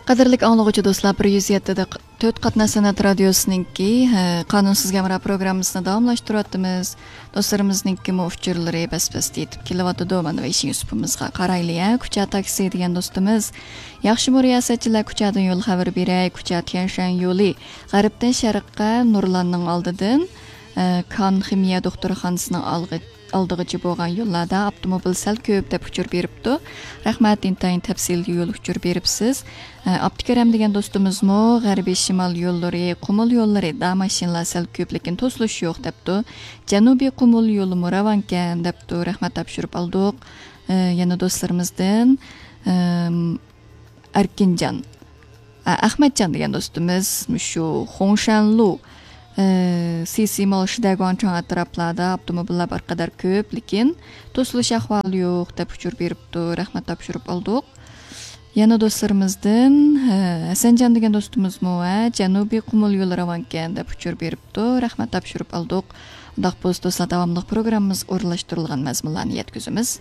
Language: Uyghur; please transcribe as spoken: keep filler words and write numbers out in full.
قەدىرلىك ئاڭلىغۇچى دوستلار، بىر يۈز يەتتە دە تۆت قاتناش سەنئەت رادىيوسىنىڭكى، ھە، قانۇنسىز ھەمراھ پروگراممىسىنى داۋاملاشتۇرۇۋاتىمىز. دوستلىرىمىزنىڭكىمۇ ئۇچۇرلىرى بەس-بەستە يېتىپ كېلىۋاتىدۇ. مانا، ۋېيشىن يۈسۈپىمىزغا قارايلى، ھە. كۇچا تاكسى دېگەن دوستىمىز، ياخشىمۇ رىياسەتچىلەر، كۇچادىن يول خەۋىرى بېرەي. كۇچا تيەنشەن يولى غەربتىن شەرققە نۇرلاننىڭ ئالدىدىن، ئە، كان خىمىيە دوختۇرخانىسىنىڭ ئالغا-، ئالدىغىچە بولغان يوللاردا ئاپتوموبىل سەل كۆپ دەپ ئۇچۇر بېرىپتۇ. رەھمەت، ئىنتايىن تەپسىلىي يول ئۇچۇر بېرىپسىز. ئە، ئابدۇكېرەم دېگەن دوستىمىزمۇ غەربىي شىمال يوللىرى، قۇمۇل يوللىرىدا ماشىنىلار سەل كۆپ، لېكىن توسۇلۇش يوق دەپتۇ. جەنۇبىي قۇمۇل يولىمۇ راۋانكەن دەپتۇ. رەھمەت، تاپشۇرۇپ ئالدۇق. ئە، يەنە دوستلىرىمىزدىن، ئەم، ئەركىنجان، ئە، ئەخمەتجان دېگەن دوستىمىز مۇشۇ خۇڭشەنلۇ، ئە، سىسىمال، شىدەگۇاڭچاڭ ئەتراپلاردا ئاپتوموبىللار بىر قەدەر كۆپ، لېكىن توسۇلۇش ئەھۋالى يوق دەپ ئۇچۇر بېرىپتۇ. رەھمەت، تاپشۇرۇپ ئالدۇق. يەنە دوستلىرىمىزدىن، ھە، ھەسەنجان دېگەن دوستىمىزمۇ، ھە، جەنۇبىي قۇمۇل يولى راۋانكەن دەپ ئۇچۇر بېرىپتۇ. رەھمەت، تاپشۇرۇپ ئالدۇق. ئۇنداق بولسا دوستلار، داۋاملىق پروگراممىمىزغا ئورۇنلاشتۇرۇلغان مەزمۇنلارنى يەتكۈزىمىز.